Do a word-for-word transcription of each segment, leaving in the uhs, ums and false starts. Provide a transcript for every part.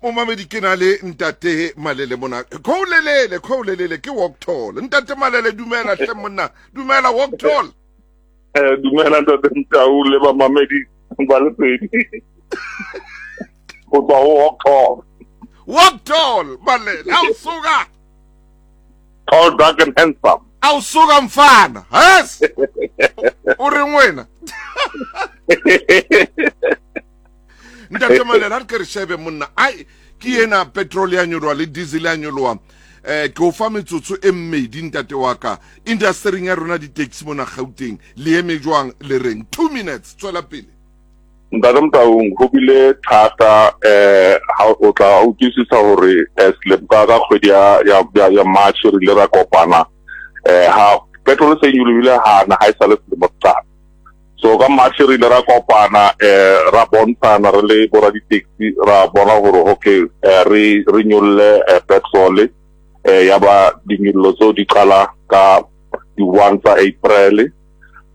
Momamedi ke na le ntate Malele mona. Khoulelele, khoulelele ke walk tall. Ntate Malele dumela hle monna. Dumela walk tall. Eh dumela ntate Mtau le ba mamedi ba Lesedi. Go tswa ho walk tall. Walk tall Malele. Awusuka. Tall, dark and handsome. Awusuka mfana. Yes. O reng wena? Ntate Malele a re ke re shebe monna. Ai ke ena petrol ya nyoloha le diesel ya nyoloha. Eh ke o fa metsotso e mmedi ntate wa ka. Industry ya rona di-taxi mona Gauteng le eme jwang le reng two minutes tswela pele. Ntate Motaung ho bile thata eh ha o tla utlwisisa hore selemo ka ka kgwedi ya ya ya March re ile ra kopana eh ha petrol se nyolohile hana ha e sa le selemo sa. So ka March re ile ra kopana eh ra bontshana re le bora di-taxi ra bona hore okay re re nyolle petrol eh ya ba dinyollo tseo di qala ka di one tsa April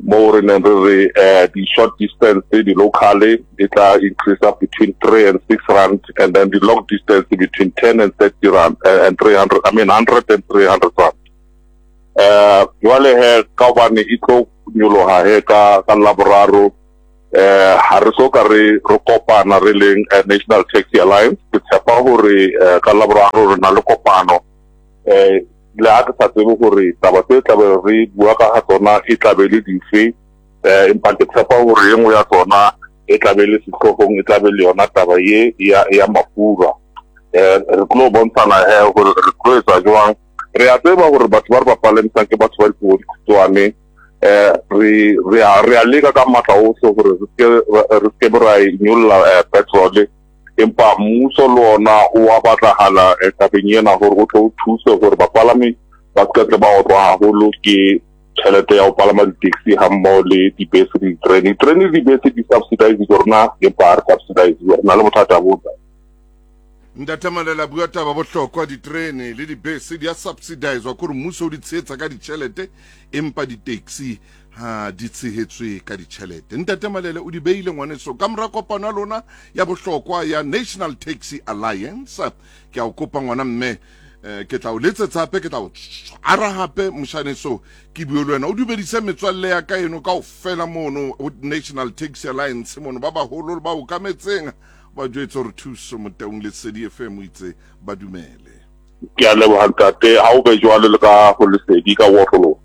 mo re neng re re eh di short distance di local e tla increase up between three and six rand, and then the long distance between ten and thirty rand uh, and three hundred, I mean one hundred and three hundred rand. Eh jwale he ka hobane e tlo nyoloha he ka ka Laboraro eh ha re so ka re re kopana re leng National Taxi Alliance. Ke tshepa hore ka Laboraro re na le kopano eh le ha ke sa tsebe hore taba tse tlabe re bua ka ga tsona e tlabe le dife eh empa ke tshepa hore e nngwe ya tsona e tlabe le sehloohong e tlabe le yona taba ye ya ya mafura. Eh re tlo bontshana he hore re tlo etsa jwang. Re a tseba hore batho ba re ba palamisang ke batho ba dipuo di khutshwane. Eh re re a re a leka ka matla ohle hore re ske re ske ra nyolla petrol, empa mmuso le ona o a batlahala tabeng ena hore o tlo thuse hore bapalami ba se tle ba otlwa haholo ke tjhelete ya ho palama di-taxi hammoho le dibese le diterene. Diterene le dibese di subsidize rona, empa ha re subsidize, re na le bothata bo. Ntate Malele bua taba bohlokwa, diterene le dibese di a subsidizwa kore mmuso o di tshehetsa ka ditjhelete empa di-taxi ha di tshehetswe ka ditjhelete. Ntate Malele o di beile ngwaneso ka mora kopano ya lona ya bohlokwa ya National Taxi Alliance. Ke a o kopa ngwana mme eh, ke tla o letsetsa hape, ke tla o tshwara hape moshaneso ke bue le wena o dumedise metswalle ya ka eno kaofela mono ho National Taxi Alliance mono ba baholo le ba okametseng ba jwetse hore Thuso Motaung Lesedi F M o itse ba dumele. Ke a leboha ntate, ha o be jwalo le ka ho Lesedi ka Waterloo.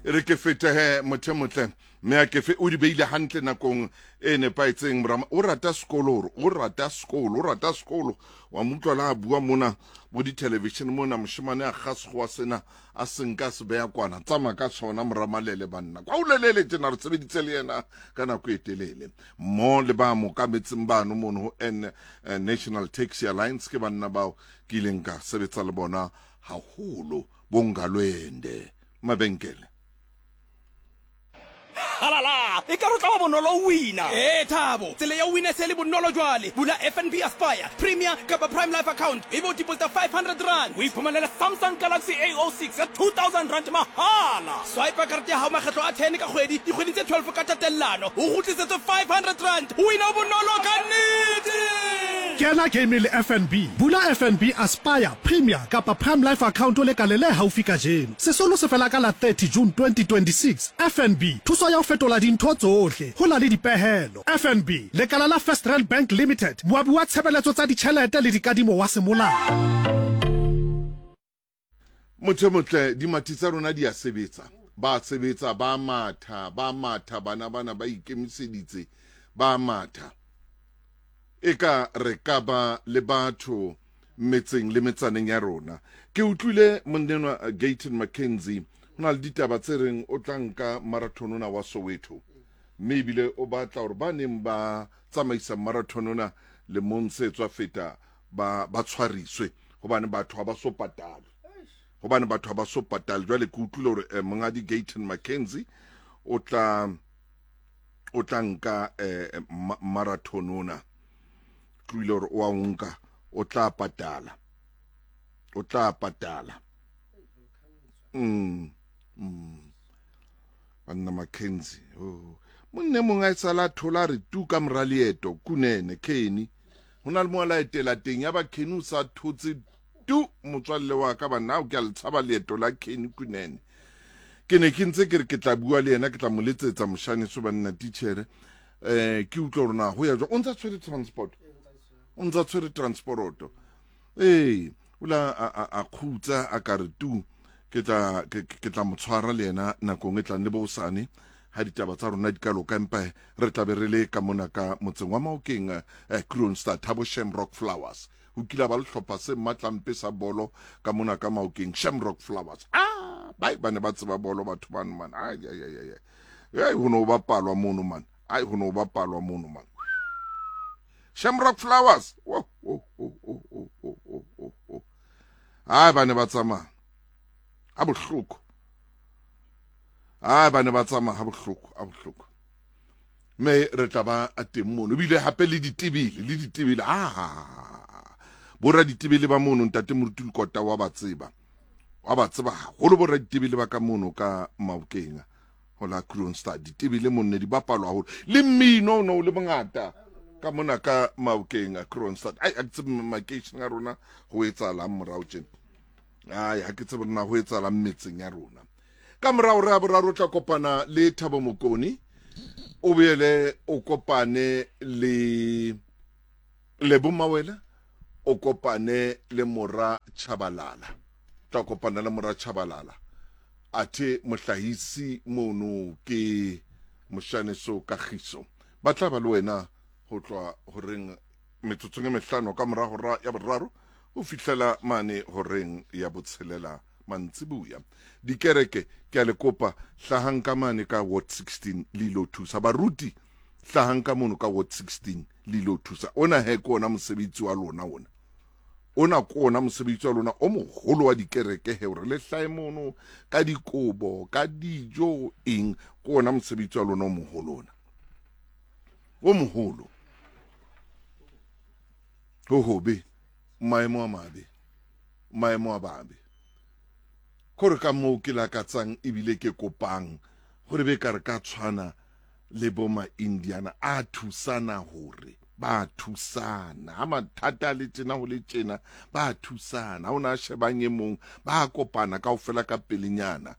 E re ke fete he motho motle mme a ke fe o di beile hantle nakong e nepahetseng. Morama o rata sekolo, hore o rata sekolo, o rata sekolo wa mo utlwa la bua mona bo di-television mona moshemane a kga sekgowa sena a se nka se beya kwana tsamaya ka sona Moramalele banna kwa o lelele tjena re sebeditse le yena ka nako e telele mo le ba mo kametseng bano mono ho N National Taxi Alliance ke banna bao ke ileng ka sebetsa le bona haholo bongalwende mabenkele. Halala, e ka re tla ba bonolo wina. Eh Thabo, tsela ya wina se le bonolo jwale. Bula F N B Aspire, Premier kapa Prime Life account. E bo deposit five hundred rand. O iphumanela Samsung Galaxy A oh six ya two thousand rand mahala. Swipe karete ya hao makgetlo a ten ka kgwedi, dikgwedi tse twelve ka tatellano. O kgutlisetswe five hundred rand. Wina bonolo ka nnete. Kena game le F N B. Bula F N B Aspire, Premier kapa Prime Life account o le kale le haufi kajeno. Sesolo se fela ka la thirty June twenty twenty-six. F N B thuso ya ho fetola dintho tsohle ho na le dipehelo. F N B lekala la First Rand Bank Limited, moabi wa tshebeletso tsa ditjhelete le dikadimo wa semolao. Motho motle dimathi tsa rona di a sebetsa, ba sebetsa, ba matha, ba matha, bana bana ba ikemiseditse, ba matha. E ka re ka ba le batho metseng le metsaneng ya rona. Ke utlwile monnenwa Gayton McKenzie ho na le ditaba tse reng o tla nka marathon ona wa Soweto, mme ebile o batla hore ba neng ba tsamaisa marathon ona lemong se tswa feta ba ba tshwariswe hobane batho ha ba so patale, hobane batho ha ba so patale. Jwale ke utlwile hore eh, monghadi Gayton McKenzie o tla o tla nka eh, marathon ona, tluile hore o a nka, o tla patala, o tla patala. Mm. Mm. Banna McKenzie, oh. Monne mongwe a sala thola re tu ka mora leeto kunene Kenny. Ho na le mo la etela teng ya ba Kenny o sa thotse tu motswalle wa ka banna o ke a le tshaba leeto la Kenny Kunene. Ke ne ke ntse ke re ke tla bua le yena, ke tla mo letsetsa moshane so banna titjhere. Eh ke utlwa hore na ho ya jwang. O ntsa tshwere transport. O ntsa tshwere transporoto. Ee, o la a a, a khutsa a ka re tu ke tla ke, ke tla mo tshwara le yena nakong e tlang le bosane ha ditaba tsa rona di ka loka, empa re tla be re le ka mona ka motseng wa Maokeng eh, Kroonstad Thabo Shamrock Flowers. Ho kile ba le hlopha se matlampe sa bolo ka mona ka Maokeng, Shamrock Flowers. Ah, ba ba ne ba tseba bolo batho bano man. Ai ai ai ai. Ai ho no bapalwa mono man. Ai ho no bapalwa mono man. Shamrock Flowers. Oh oh oh oh oh oh oh oh. Ai ba ne ba tsamaya. Ha bohloko. Ai ba ne ba tsamaya ha bohloko, ha bohloko. Me re tla ba a teng mono. Ebile hape le ditebele, le ditebele. Ah. Bora ditebele ba mono ntate Moruti Lekota wa ba tseba. Wa ba tseba haholo bora ditebele ba ka mono ka Maokeng. Ho la Kroonstad ditebele mono ne di bapalwa haholo. Le mmino no le mongata ka mona ka Maokeng a Kroonstad. Ai a ke tsebe makeisheneng a rona ho etsahalang morao tjena. Ai ha ke tsebe na ho etsahalang metseng ya rona. Ka morao re a boraro tla kopana le Thabo Mokoni. O boele o kopane le Lebo Mawela, o kopane le Mora Chabalala. Tla kopana le Mora Chabalala. Athe mohlahisi mono ke Moshaneso Kagiso. Ba tla ba le wena ho tloha horeng metsotsong e mehlano ka mora hora ya boraro ho fihlela mane horeng ya botshelela mantsibuya. Dikereke ke a le kopa hlahang ka mane ka ward sixteen le ilo thusa. Baruti hlahang ka mono ka ward sixteen le ilo thusa. Ona he ke ona mosebetsi wa lona ona. Ona ke ona mosebetsi wa lona o moholo wa dikereke he, hore le hlahe mono ka dikobo, ka dijo, eng, ke ona mosebetsi wa lona o moholo ona. O moholo. Ho hobe, maemo a mabe, maemo a babe. Kore ka moo ke lakatsang ebile ke kopang hore be ka re ka tshwana le bo ma-Indiana a thusana hore ba thusana. Ha mathata a le tjena ho le tjena ba thusana. Ha ona a shebang e mong ba kopana kaofela ka pelenyana.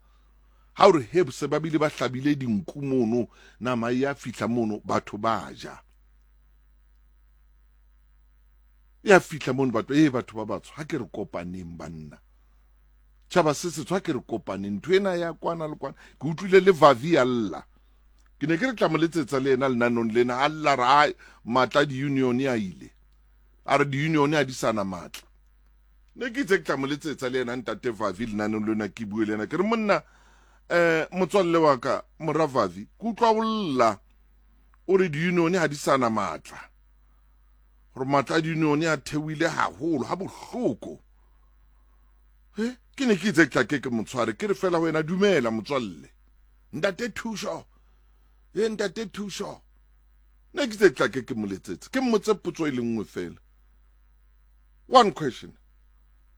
Ha o re he se ba bile ba hlabile dinku mono, nama ya fihla mono batho ba ja. Ya fihla mono batho, eh batho ba batsho ha ke re kopaneng banna. Tjhaba se setsho ha ke re kopaneng, ntho ena ya kwana le kwana. Ke utlwile le Vavi a lla. Ke ne ke re tla mo letsetsa le yena lenanong lena, a lla re ai matla di-union a ile. A re di-union ha di sana matla. Ne ke itse ke tla mo letsetsa le yena ntate Vavi lenanong lena ke bue le yena. Ke re monna eh motswalle wa ka mora Vavi, ke utlwa o lla o re di-union ha di sana matla. Hore matla a di-union a theohile haholo, ha bohloko. He, ke ne ke itse ke tla ke ke motshware, ke re fela ho wena dumela motswalle. Ntate Thuso. He ntate Thuso. Ne ke itse ke tla ke ke mo letsetse. Ke mmotse potso e le nngwe fela. One question.